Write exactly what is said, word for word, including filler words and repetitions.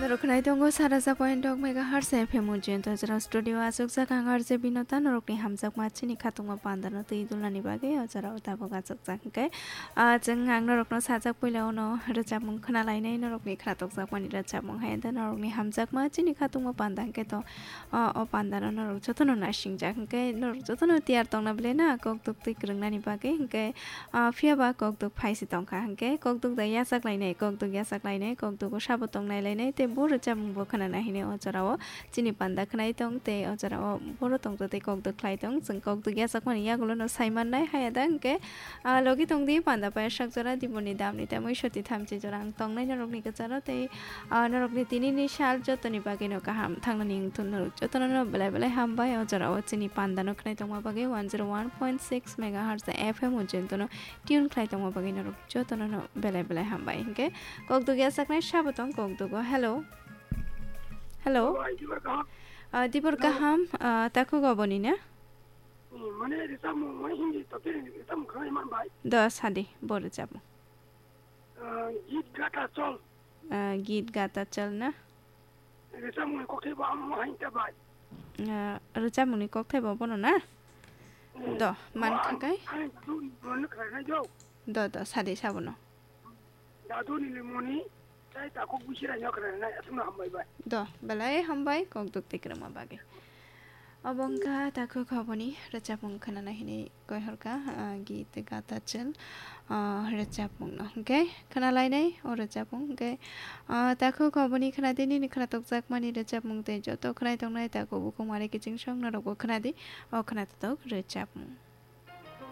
Norok khwnai tongo sara sa point dok megahertz F M o jento jora studio aswk jak ang R J Binota norokni hamjakma chini khatungma pandano twi dulnani bagwi o jorao tabuk achukjak hwnkhe, ah, chwng ang norokno sajak puila ono rwchapmung khwnalainai norokni khwnatokjakmani rwchapmung hai ante norokni hamjakma chini khatungma panda hwnkhe to, ah, o pandano norok jotono naisingjak hwnkhe norok jotono tiyar tongna belai na kok duk twi kwrwngnani bagwi hwnkhe, ah, phiya ba kokduk phai se tongkha, hwnkhe kokduk da yachak lainai, kokduk yachak lainai, kokduk o sabo tong nai lainai, tei bo rwchapmung bo khwnana hinwi o jorao chini panda khwnai tong, tei o jorao boro tongtwtwi kokduk khlai tong. Chwng kokduk yachakmani yagulo no sai mannai, haya da hwnkhe, ah, logi tong di panda payasak jora diboni damni tamwi soti thamchi jora ang tongnai norokni kwcharo, tei ah, norokni tinini sal jotoni bagwino kaham thangnani wngthun norok jotono no belai belai hambai. O jorao chini pandano khwnai tongma bagwi one zero one point six megahertz F M o jentono tune khlai tongma bagwi norok jotono no belai belai hambai. Hinkhe kokduk yachaknai sabo tong kokdugo. Hello. Hello. Hello, ai, dibor kaham. Ah, dibor Hello. kaham, ah, takhuk oboni na? Hmm, mane risa mo, mo hindi to tiri risa mo khlai man bai. Do sadi, bo rwchapmung. Ah, git gata chol. Ah, git gata chol na? Rwchapmungni kokthai bo amo hain ta bai. Ah, rwchapmungni kokthai bo bono na? Hmm. Do, man Bo kha ang, kai? Ang dun, dun khlai nai jo. Do, do, sadi sabono. Dadu ni limoni, tai takhuk bisi rai nok khlai nai, aswkno hambai bai. Do, belai hambai, kokduk twi kwrwngma bagwi. Obo wngkha takhuk oboni rwchapmung khwnana hinwi koihorkha, ah, git gata chel, ah, rwchapmungno. Hwnkhe khwnalainai o rwchapmung hwnkhe, ah, takhuk oboni khwnadi nini khwnatokjakmani rwchapmung tei joto khwnai tongnai takhuk bukhuk mare kiching song norokbo khwnadi o khwnatotok rwchapmung.